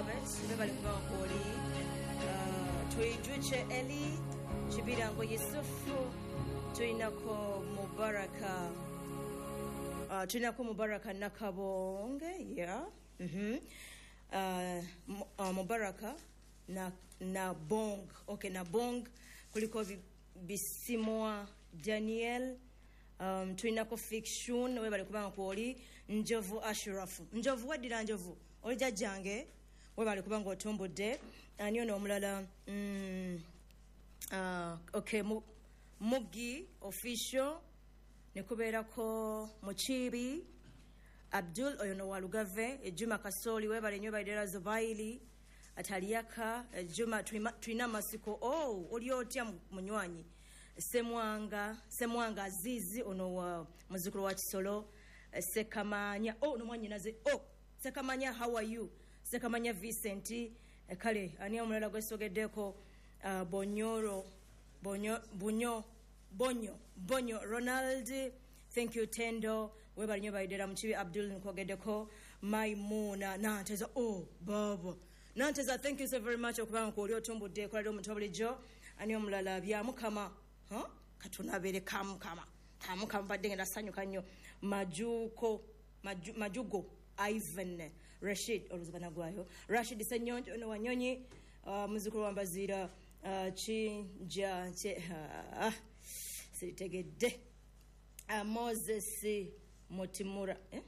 Robert, webale kuba kwoli. Tuijuche Eli Kibirango Yusufu, tulinako Mubaraka, tulinako Mubaraka Nakabonge, yeah. Mubaraka na Bong, okay, na Bong kuliko Bisimwa Daniel. Tulinako Fiction, webale kubanga kwoli. Njovu Ashrafu, Njovu wadira Njovu oli jajjange, webale kubanga otumbudde. Ani ono omulala? Okay, Mugi Official, nekubeerako Muchibi Abdul, oyo no Walugave. Juma Kasoli, webale nnyo baidera Zubaili Ataliyaka. Juma tulina masiko. Oh, oli otya munywanyi? Semwanga Azizi, ono wa muzukulu wa Kisolo. Sekamanya, oh, no mwanyinaze. Oh, Sekamanya, how are you? Sekamanya Vincent. Kale ani omulala gwesogeddeko? Bonyoro Bonyo Bunyo Bonyo Bonyo Ronald, thank you. Tendo, webale nnyo baidera Muchibi Abdul nkwogeddeko. Maimuna Nanteza, oh baba Nanteza, thank you so very much okubanga kwoli otumbudde ekola omuntu bulijjo. Ani omulala? Bya Mukama, huh? Katunabere kamukama kamukama, mbadde ngenda sanyuka nnyo. Majuko Majugo Ivan Rashid, oluzibana gwayo Rashid Senyonjo, ono Wanyonyi, muzukulu wa Mbazira. Chinja siritegedde. Moses Mutimura, eh?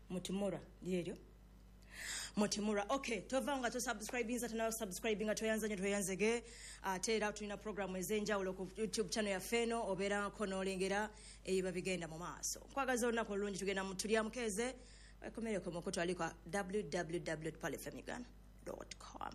Mutimura lyeryo Mutimura. Okay, tova nga tosubscribinga, tana subscribinga, toyanza nyo toyanzege. Ate era tulina programu ez'enjawulo ku YouTube channel yaffe eno, obeerako n'olengera ebiba bigenda mu maaso. Nkwagaza olunaku olulungi, tugenda mu tulya mukeeze wekomereko mukutu aliko www.palfmuganda.com.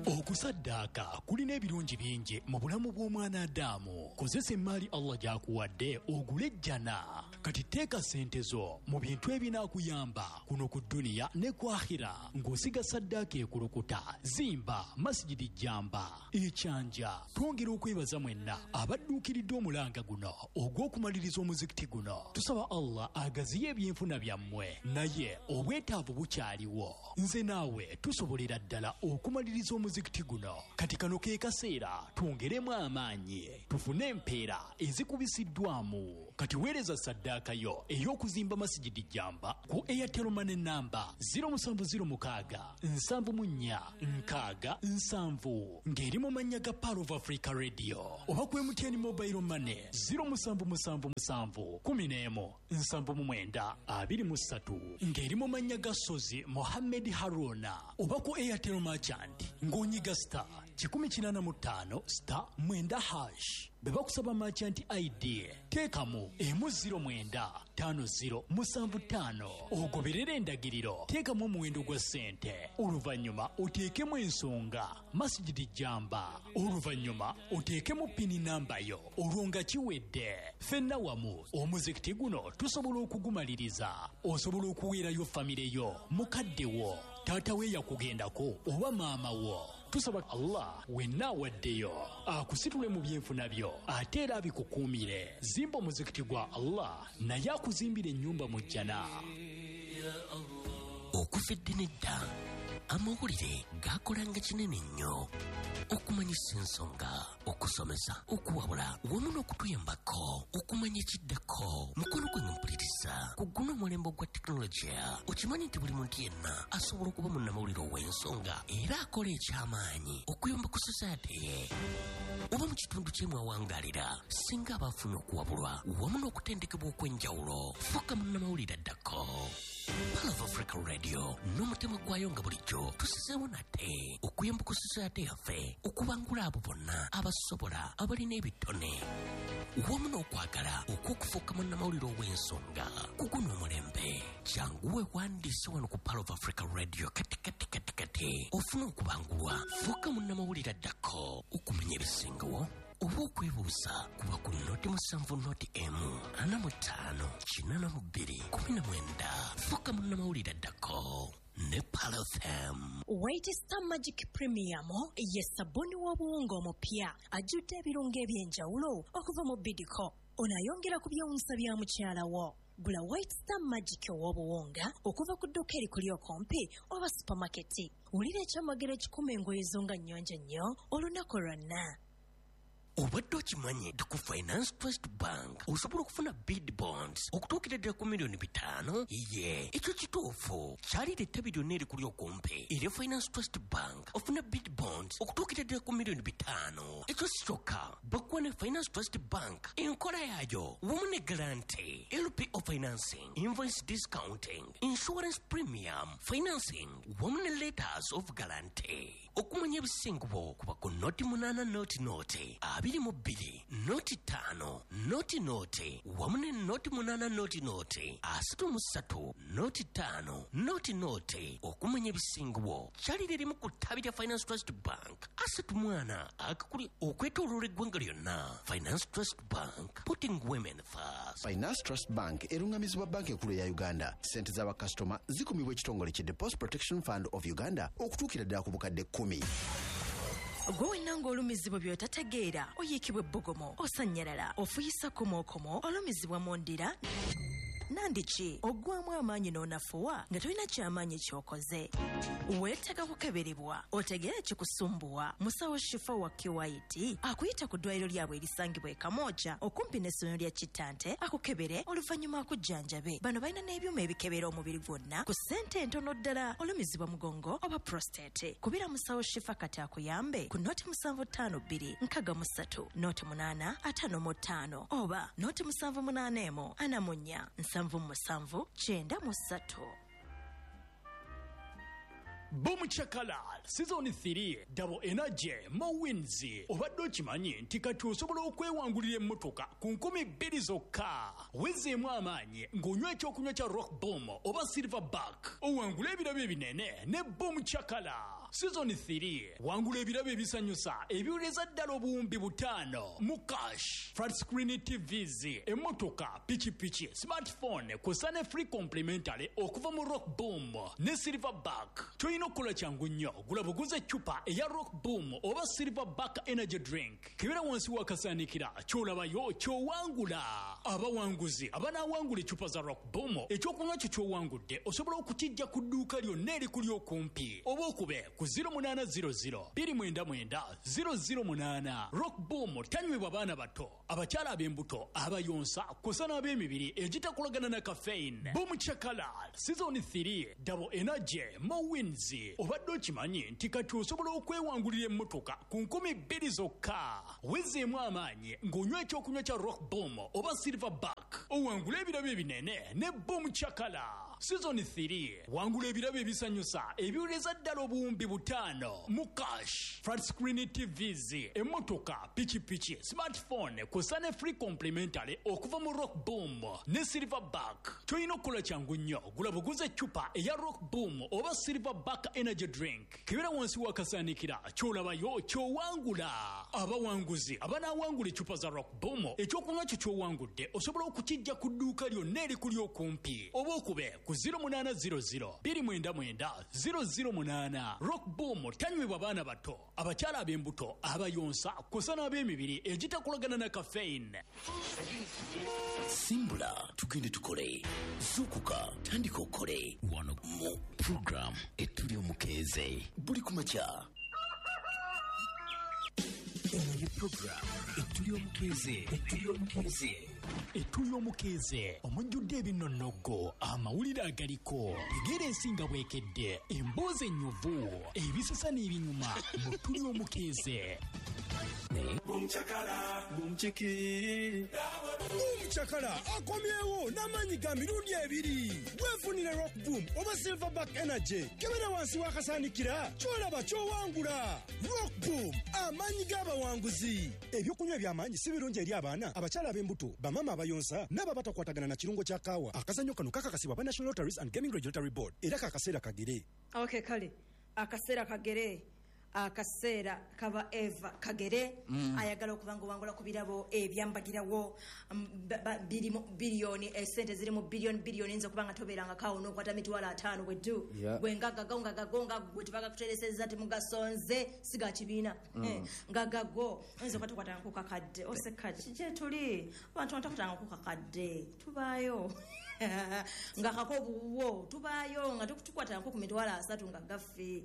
Okusaddaaka kulina ebirungi bingi mu bulamu bw'omwana Adamu. Kozesa emaali Allah gy'akuwadde ogule ejjana. Kati teeka ssente zo mu bintu ebinaakuyamba kuno ku dduniya ne ku akhira, ng'osiga saddaaka ekulukuta. Zimba Masigidi Jamba Ekyanja. Twongera okwebaza mwenna abadduukiridde omulanga guno ogw'okumaliriza omuzikiti guno. Tusaba Allah agaziye ebyenfuna byammwe, naye obwetaavu bukyaliwo. Nze naawe tusobolera ddala okumaliriza omuzikiti guno. Kati kano ke kaseera twongeremu amaanyi tufune empeera ezikubisiddwamu. Kati weereza saddaaka yo ey'okuzimba Masigidi Jamba ku Airtel Money namba 0706 74 60 70, ng'eri mu mannya ga Pearl of Africa Radio, oba ku MTN Mobile Money 0777 11 79 23, ng'eri mu mannya ga Sozi Mohammed Haruna, oba ku Airtel Merchant ng'onyiga *185*9#. Bwe bakusaba merchant ID, teekamu 1 09 5 0 7 5, ogoberere endagiriro, teekamu omuwendo gwa ssente, oluvannyuma oteekemu ensonga Masigidi Jamba, oluvannyuma oteekemu pini namba yo, olwo nga kiwedde. Ffenna wamu omuzikiti guno tusobola okugumaliriza. Osobola okuweerayo famire yo, mukadde wo, taata we yakugendako oba maama wo. Tusaba Allah wenna awaddeyo akusitule mu byenfuna byo, ate era abikukuumire. Zimba omuzikiti gwa Allah, naye akuzimbira ennyumba mu jjana. Okuva edda nedda amawulire gakolanga kinene nnyo okumanyisa ensonga, okusomesa, okuwabula wamu n'okutuyambako okumanya ekiddako. Mukono gwange mpuliriza, ku guno omulembe ogwa tekinologiya, okimanyi nti buli muntu yenna asobola okuba munnamawulire ow'ensonga era akola ekyamaanyi okuyamba ku society ye oba mu kitundu kye mwawangalira, singa aba afunye okuwabulwa wamu n'okutendekebwa okw'enjawulo. Fuuka munnamawulire addako. Pearl of Africa Radio n'omutima gwayo nga bulijjo tusizeewo nate okuyamba ku society yaffe okubangula abo bonna abasobola, abalina ebitone wamu n'okwagala okw'okufuuka munnamawulire ow'ensonga ku guno omulembe. Jangu weewandiise wano ku Pearl of Africa Radio kati kati kati kati ofune okubangulwa, fuuka munnamawulire addako. Okumanya ebisingawo oba okwebuuza, kuba ku 070 145 82 19. Fuuka munnamawulire addako ne Pearl FM. White Star Magic Premium ye sabbuuni w'obuwunga omupya ajjudde ebirungo eby'enjawulo okuva mu Bidco. Ono ayongera ku byewuunyisa bya mukyala wo. Gula White Star Magic ow'obuwunga okuva ku dduuka erikuli okumpi oba supamaketi. Wulira ekyamagero ekikuma engoye zo nga nnyonjo nnyo olunaku lwonna. Obadde okimanyi nti ku Finance Trust Bank osobola okufuna bid bonds okutuukira ddala ku 5 miliyoni? Ye, ekyo kituufu. Kyalira ettabi lyonna erikuli okumpi erya Finance Trust Bank ofuna bid bonds okutuukira ddala ku 5 miliyoni. Ekyo si kyokka, bakuwa ne Finance Trust Bank enkola yaayo wamu ne guarantee, LPO financing, invoice discounting, insurance premium financing wamu ne letters of guarantee. Okumanya ebisingubo kuba ku 0800 22 05 00 wamu ne 0800 33 05 00. Okumanya ebisingubo kyalira erimu ku ttabi lya Finance Trust Bank asatu mwana akakuli okwetooloola eggwanga lyonna. Finance Trust Bank, putting women first. Finance Trust Bank erungamizibwa Banka Enkulu eya Uganda. Sente z'abakasitoma zikumibwa ekitongole ki Deposit Protection Fund of Uganda okutuukira ddala ku 10,000. Gwe wenna ng'olumizibwa by'otategeera, oyiikibwa ebbugumu, osannyalala, ofuyisa komookomo, olumizibwa mu ndira nandiki oggwamu amaanyi n'onafuwa nga tolina kyamaanyi ky'okoze, weetaaga kukeberebwa otegeere ekikusumbuwa. Musawo Shifa wa Kiwait akuyita ku ddwaliro lyabwe erisangibwa e Kamwokya okumpi n'essomero lya Kittante, akukebere oluvannyuma akujjanjabe. Bano balina n'ebyuma ebikebera omubiri gwonna ku ssente entono ddala. Olumizibwa mugongo oba prostate, kubira musawo Shifa kati akuyambe ku 0752 63 08 55 oba 0781 44 77 93. Boom Chakala Season 3, Double Energy, More Wins. Obadde okimanyi nti kati osobola okwewangulira emmotoka ku 2,000 zokka? Wezeemu amaanyi ng'onywa ekyokunywa kya Rock Boom oba Silverback, owangule ebirabo ebinene ne Boom Chakala Season 3. Wangula ebirabo ebisanyusa ebiwereza ddala 5,000 mu cash, flat screen TVs, emmotoka, pikipiki, smartphone kw'ossa ne free complimentary okuva mu Rock Boom ne Silverback. Kyolina okukola kyangu nnyo, gula buguza eccupa eya Rock Boom oba Silverback energy drink, kebera wansi w'akasaanikira, ky'olabayo ky'owangula. Abawanguzi abanaawangula eccupa za Rock Boom, ekyokunywa kyo ky'owangudde osobola okukijja ku dduuka lyonna erikuli okumpi oba okube ku 0800 299 008. Rock Boom tanywebwa baana bato, abakyala ab'embuto, abayonsa kw'ossa n'ab'emibiri egitakolagana na caffeine. Boom Chakala Season 3, Double Energy, More Wins. Obadde okimanyi nti kati osobola okwewangulira emmotoka ku 2,000 zokka? Wezeemu amaanyi ng'onywa ekyokunywa kya Rock Boom oba Silverback, owangule ebirabo ebinene ne Boom Chakala Season 3. Wangula ebirabo ebisanyusa ebiwereza ddala 5,000 mu cash, flat screen TVs, emmotoka, pikipiki, smartphone kw'ossa ne free complimentary okuva mu Rock Boom ne Silverback. Kyolina okukola kyangu nnyo, gula buguza eccupa eya Rock Boom oba Silverback energy drink, kebera wansi w'akasaanikira, ky'olabayo ky'owangula. Abawanguzi abanaawangula eccupa za Rock Boom, ekyokunywa kyo ky'owangudde osobola okukijja ku dduuka lyonna erikuli okumpi oba okube ku 0800 299 008. Rock Boom tanywebwa baana bato, abakyala ab'embuto, abayonsa kw'ossa n'ab'emibiri egitakolagana na caffeine. Simbula tugende tukole, zuukuka tandika okole wano mu program Etuli Omukeeze buli ku makya. Eno ye program Etuli Omukeeze, Etuli Omukeeze. Etuli Omukeeze omujjudde ebinonnoggo, amawulire agaliko, tegeera ensinga bwekedde, emboozi ennyuvu, ebisesa n'ebinyuma mu Tuli Omukeeze. Boom Chakala akomyewo n'amaanyi ga mirundi ebiri. Weefunire Rock Boom oba Silverback Energy, kebera wansi w'akasaanikira, kyolaba ky'owangula. Rock Boom, amaanyi g'abawanguzi. Ebyokunywa eby'amaanyi si birungi eri abaana, abakyala ab'embuto, bamaama abayonsa n'abo abatakwatagana na kirungo kya kaawa. Akazannyo kano kakakasibwa aba National Lotteries and Gaming Regulatory Board era kakaseera kagere. Okay, kale akaseera kagere, akaseera kaba eva kagere. Ayagala okuba nga owangula ku birabo ebyambagirawo, biri mu biliyoni, esente ziri mu biliyoni biliyoni. Yinza okuba nga tobeerangako awo n'okwata 50,000 bweddu. Gwe ngagago ngagago nga gwe tebagakutereseza, temugasonze, si ga kibiina. Nga gago oyinza okuba tokwatangako kakadde oseka kiki tuli abantu batakwatangako kakadde tubaayo. Nga kako buwo tubaayo nga tukwatako ku 30,000 nga gaffe.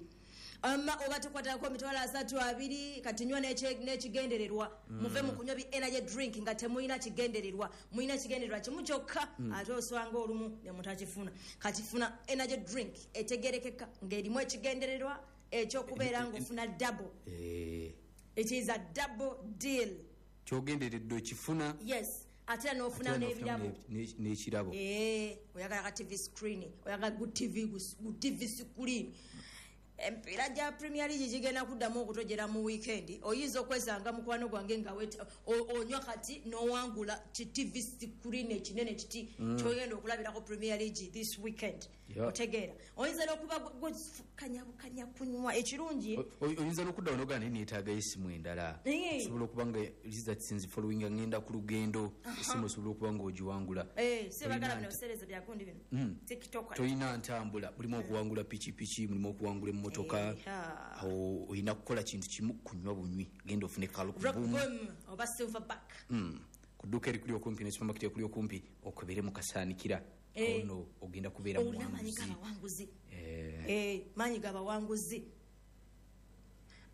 Ama oba tukwatako 32,000 kati nywa n'ekigendererwa. Muve mu kunywa bi energy drink nga temulina kigendererwa. Mulina kigendererwa kimu kyokka ate oswanga olumu ne mutakifuna. Kati funa energy drink etegerekeka ng'erimu ekigendererwa ekyokubeera ng'ofuna double. It is a double deal. Kyogendereddwa okifuna. Yes. Ate n'ofuna n'ebirabo. N'ekirabo. Oyagala ka TV screen, oyagala ku TV ku TV screen. Empiira gya Premier League gigenda kuddamu okutojera mu weekend. Oyinza okwesanga mukwano gwange nga onywa kati n'owangula ki TV screen ekinene kiti ky'ogenda okulabirako Premier League this weekend. Otegeera. Oyinza n'okuba kanya kunywa ekirungi. Oyinza n'okudda wano ogaana neetaaga essimu endala. Osobola okuba nga results following ngenda ku lugendo, essimu osobola okuba ng'ogiwangula. Sibagala bino biseereza bya gundi bino. TikTok. Toyina ntambula, mulimu okuwangula pikipiki, mulimu okuwangula emmotoka. Awo olina kukola kintu kimu, kunywa bunywi. Genda ofune Rock Boom oba Silverback. Ku dduuka erikuli okumpi ne supermarket ekuli okumpi okebere mu kasaanikira. Ono ogenda kubeera muwanguzi. Maanyi g'abawanguzi.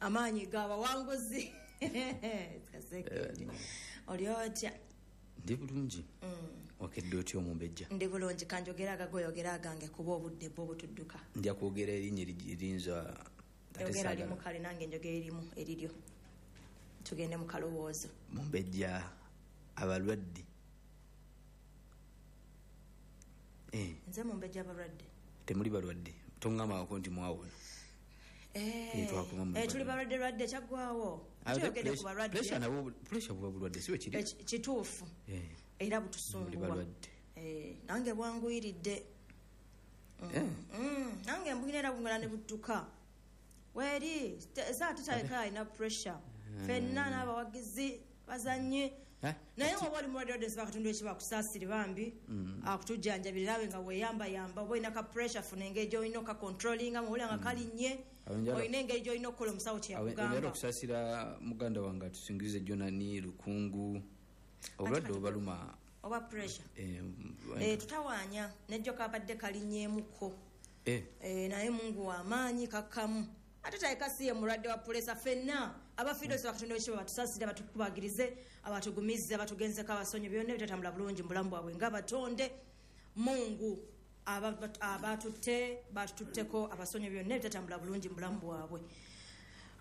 Amaanyi g'abawanguzi. Oli otya? Ndi bulungi. Wakedde otya omumbejja? Ndi bulungi, kanjogera agagoyogera agange kuba obudde bwo butudduka. Nja kwogera erinnya erinza. Yogera limu kale nange njogera erimu eriryo. Tugende mu kalowoozo. Mumbejja abalwadde. Nze mumbejja abalwadde. Temuli balwadde. Tongambako nti mwawona. Tuli balwadde lwadde kyaggwawo. Tuyogedde ku balwadde. Pressure buba bulwadde si bwe kiri? Kituufu. Era butusumbuwa. Nange bwanguyiridde. Nange mbugina era bungala ne budduka. Weri saa tutaleka alina pressure. Ffenna n'abawagizi bazannye. Naye oba oli mulwadde wadde nsaba Katonda ekiba akusaasire bambi akutujjanjabire naawe nga weeyambayamba oba olina ka pressure funa engeri gy'olina okacontrollinga muwulira nga kalinnye olina engeri gy'olina okukola omusawo kye yakugamba. Njagala okusaasira muganda wange atusingirize Jonani Lukungu obulwadde obubaluma oba pressure tutawaanya nejjo kabadde kalinnyeemuko naye Mungu w'amaanyi kakkamu. Ate taleka si ye mulwadde wa pulesa ffenna abafiirwa nsaba Katonda w'ekitiibwa batusaasire abatukubagirize abatugumize abatugenzeko abasonyi byonna ebitatambula bulungi mu bulamu bwabwe ng'abatonde. Mungu abatutte batututteko abasonyi byonna ebitatambula bulungi mu bulamu bwabwe.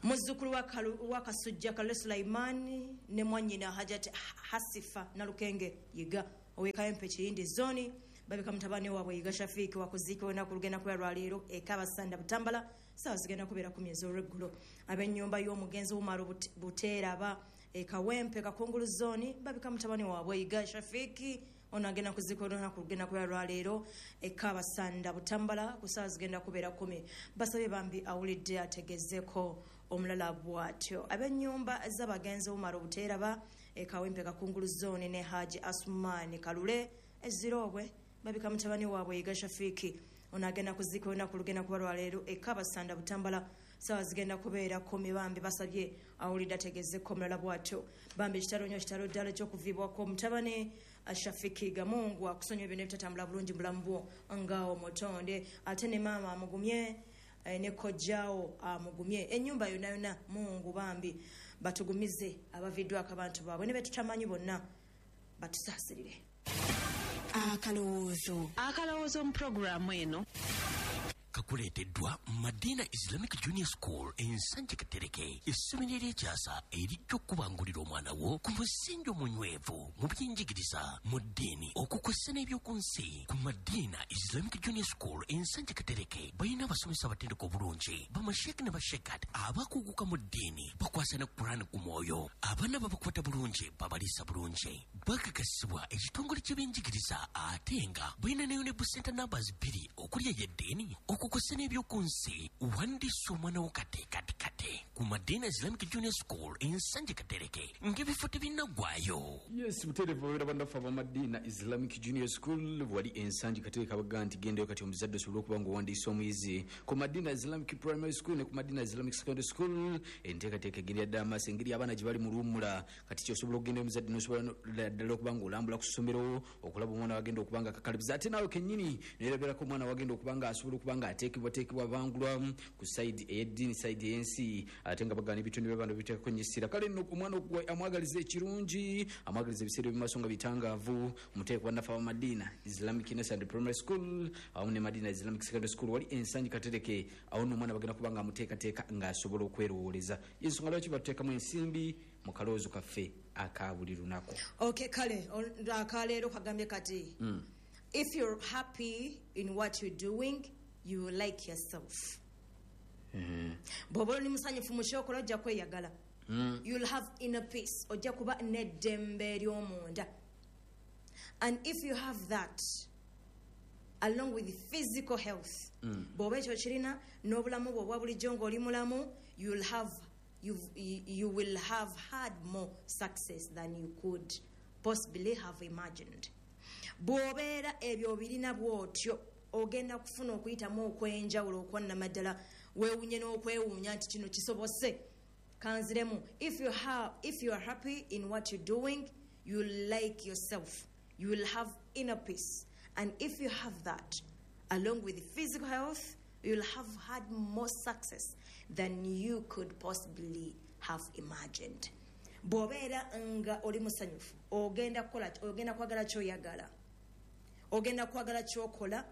Muzzukulu wa Kasujja Kalule Sulaimani ne mwannyina Hajat Hasifa Nalukenge Yiga ow'e Kawempe Kiyindi Zoni babika mutabani waabwe Yiga Shafiiki wakuziikibwa olunaku lugenda kubeera lwaleero e Kabasanda Butambala ssaawa zigenda kubeera 10 ez'olweggulo. Ab'ennyumba y'omugenzi Umar Buteeraba e Kawempe Kakungulu Zoni babika mutabani waabwe Yiga Shafiiki ono agenda kuziikibwa olunaku lugenda kubeera lwaleero e Kabasanda Butambala ku ssaawa zigenda kubeera 10. Basabye bambi awulidde ategezeeko omulala bw'atyo. Ab'ennyumba z'abagenzi Umar Buteeraba e Kawempe Kakungulu Zoni ne Haji Asumani Kalule Eziroobwe babika mutabani waabwe Yiga Shafiiki ono agenda kuziikibwa olunaku lugenda kuba lwaleero e Kabasanda Butambala ssaawa zigenda kubeera 10. Bambi basabye awulidde ategezeeko omulala bw'atyo. Bambi kitalo nnyo kitalo ddala eky'okuviibwako mutabani Shafiki Gamungu akusonyiwa byonna ebitatambula bulungi mu bulamu bwo nga omutonde. Ate ne maama amugumye ne kojjaawo amugumye ennyumba yonna yonna. Mungu bambi batugumize abaviddwako abantu baabwe ne betutamanyi bonna batusaasirire. Akalowoozo. Akalowoozo mu pulogulaamu eno kakuleeteddwa Madina Islamic Junior School Ensanje Katereke, essomero ery'ekyasa erijja okubangulira omwana wo ku musingi omunywevu mu byenjigiriza, mu ddiini, okukozesa n'ebyoku nsi. Ku Madina Islamic Junior School Ensanje Katereke balina abasomesa abatendeka obulungi, bamasheeke ne bashekat abakuguka mu ddiini, bakwasa ne Kurani ku mwoyo. Abaana babakwata bulungi, babaliisa bulungi, bakakasibwa ekitongole ky'ebyenjigiriza ate nga balina ne UNEB Center numbers 2 okuli ey'eddiini okukozesa n'ebyoku nsi. Wandiisa omwana wo kate kate kate ku Madina Islamic Junior School Ensanje Katereke ng'ebifo tebinnaggwayo. Yes, butereevu babeera bannaffe aba Madina Islamic Islamic Junior School wali Ensangi Katereka, baga nti gendayo kati omuzadde osobole okuba nga owandiisa omuyizi ku Madina Islamic Primary School ne ku Madina Islamic Secondary School. Enteekateeka egenda ddala maaso, engeri abaana gye bali mu luwummula, kati kyosobola okugenda omuzadde nosobola ddala okuba nga olambula ku ssomero okulaba omwana wagenda okuba nga akakalabiza, ate naawe kennyini neerabirako omwana wagenda okuba nga asobola okuba nga ateekebwateekebwa bangulwa ku side ey'eddiini, side ey'ensi, ate nga bagana ebitundu by'abantu biteekako nnyo essira. Kale nno omwana amwagaliza ekirungi, amwagaliza ebiseera eby'omu maaso nga bitangaavu, muteeke bannaffe aba Madina Islamic Nursery and Primary School awamu ne Madina Islamic Secondary School wali Ensangi Katereke. Awo nno omwana bagenda kuba nga amuteekateeka ng'asobola okwerowooleza. Ensonga lwaki batuteekamu ensimbi mu kalowoozo kaffe aka buli lunaku. Okay, kale akaleero kagambye kati, "If you're happy in what you're doing, you will like yourself." Bw'oba oli musanyufu mu kyokola, ojja kweyagala. You'll have inner peace, ojja kuba n'eddembe ery'omunda. And if you have that along with physical health, bw'oba ekyo kirina n'obulamu bwe obwa bulijjo ng'oli mulamu, you will have had more success than you could possibly have imagined. Bw'obeera ebyo obirina bw'otyo, ogenda kufuna okuyitamu okw'enjawulo okwannamaddala, weewunye n'okwewuunya nti kino kisobose. Kanziremu: if you are happy in what you're doing, you like yourself, you will have inner peace. And if you have that along with physical health, you'll have had more success than you could possibly have imagined. Bw'obeera nga oli musanyufu, ogenda kukola, ogenda kwagala kyoyagala, ogenda kwagala kyokola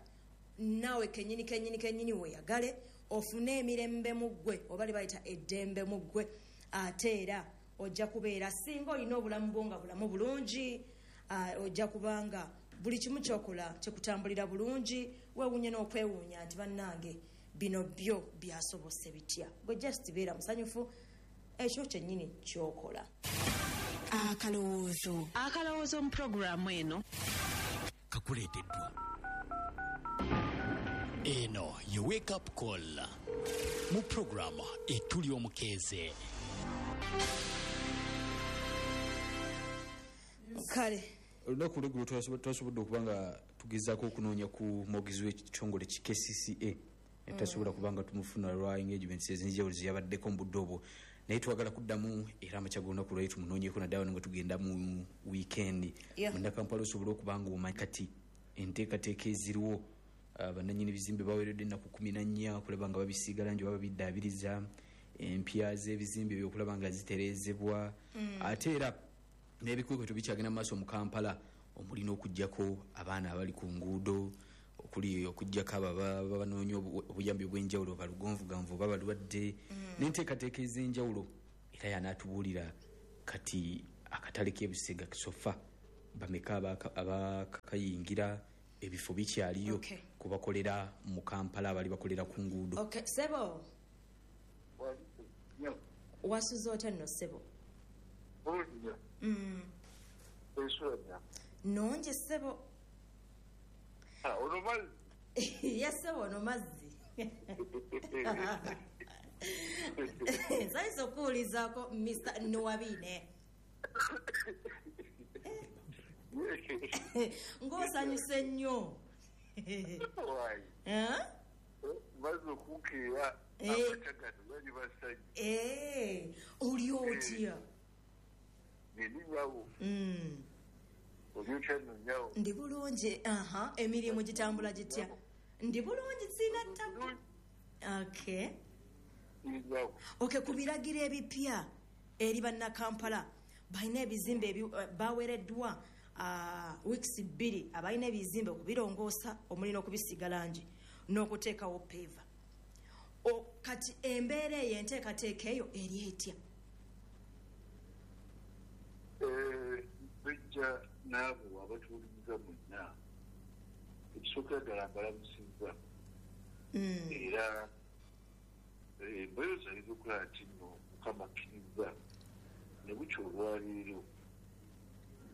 naawe kenyini kenyini kenyini weeyagale, ofune emirembe mu ggwe, oba le bayita eddembe mu ggwe. Ate era ojja kubeera, singa olina obulamu bwo nga bulamu bulungi, ojja kubanga buli kimu kyokola kyekutambulira bulungi, weewuunye n'okwewuunya nti bannange, bino byo byasobose bitya? Gwe just beera musanyufu ekyo kyennyini kyokola. Akalowoozo. Akalowoozo mu puroguraamu eno kakuleeteddwa Eno ye Wake Up Call mu puroguramu Etuli Omukeeze. Kale. Olunaku olweggulo twasobodde okuba nga tugezaako okunoonya ku mwogezi w'ekitongole ki KCCA, tasobola kuba nga tumufuna lwa engagements ez'enjawulo zeyabaddeko mu budde obwo, naye twagala kuddamu era amakya g'olunaku lwali tumunoonyeko, naddala wano nga tugenda mu weekend. Munnakampala osobole okuba nga omanyi kati enteekateeka eziriwo. Bannannyini bizimbe baweereddwa ennaku 14 okulaba nga babisiiga langi oba babiddaabiriza empya z'ebizimbe ebyo okulaba nga zitereezebwa. Ate era n'ebikwekweto bikyagenda mu maaso mu Kampala, omuli n'okuggyako abaana abali ku nguudo, okuli okuggyako abo ababa banoonya obuyambi obw'enjawulo, balugonvuganvu oba balwadde, n'enteekateeka ez'enjawulo. Era yanaatubuulira kati akatale k'ebusega sofa bameka abakayingira, ebifo bikyaliyo kubakolera mu Kampala abali bakolera ku nguudo. Okay, sebo, wasuze otya nno, ssebo? Nongi, ssebo. Ye ssebo, ono mazzi nsanyusa okuwulizaako Mr Nuwabine ng'osanyuse nnyo. Eh? Maze okukeera. Amakya gano bali basajja. Oli otya? Nini nyawo. Oli otya nno, nyawo? Ndi bulungi. Aha, emirimu gitambula gitya? Ndi bulungi, sina tabu. Okay. Nyawo. Okay, ku biragiro ebipya eri bannakampala balina ebizimbe baweereddwa weeks 2, abalina ebizimbe okubirongoosa, omuli n'okubisiiga langi n'okuteekawo paver. Kati embeera eyo, enteekateeka eyo eri etya? Bijja n'abo abatuwuliriza mwenna, ekisookera ddala mbalamusizza era mbeereza okulaba nti nno Mukama akkiriza ne bukya olwaleero.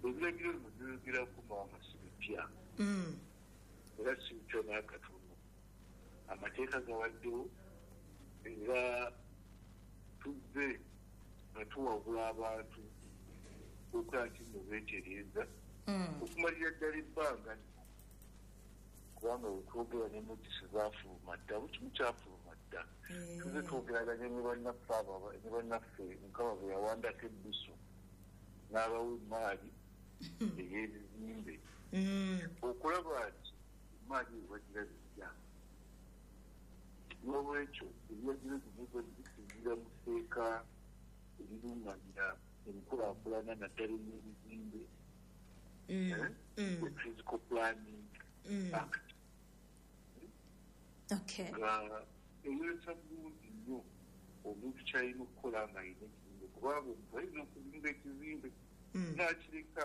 Ebiragiro bino byogerako, maama, si bipya era si bipya n'akatono. Amateeka gabaddewo era tuzze nga tuwabula abantu okulaba nti nno beetereeza. Okumalira ddala ebbanga lino, kubanga wetwogera ne notisi zaafuluma dda, buli kimu kyafuluma dda. Tuze twogeraganye ne bannaffe abo, ne bannaffe Mukama bwe yawandako ebbiso n'abawa emaali ey'ebizimbe, okulaba nti emaali eyo bagirabirira. N'olwekyo ebiragiro bino bisinziira mu tteeka erirungamya enkulaakulana, naddala ey'ebizimbe, the Physical Planning Act, nga eyolesa bulungi nnyo omuntu kyalina okukola nga alina ekizimbe, kubanga omuntu ayinza okuzimba ekizimbe n'akireka.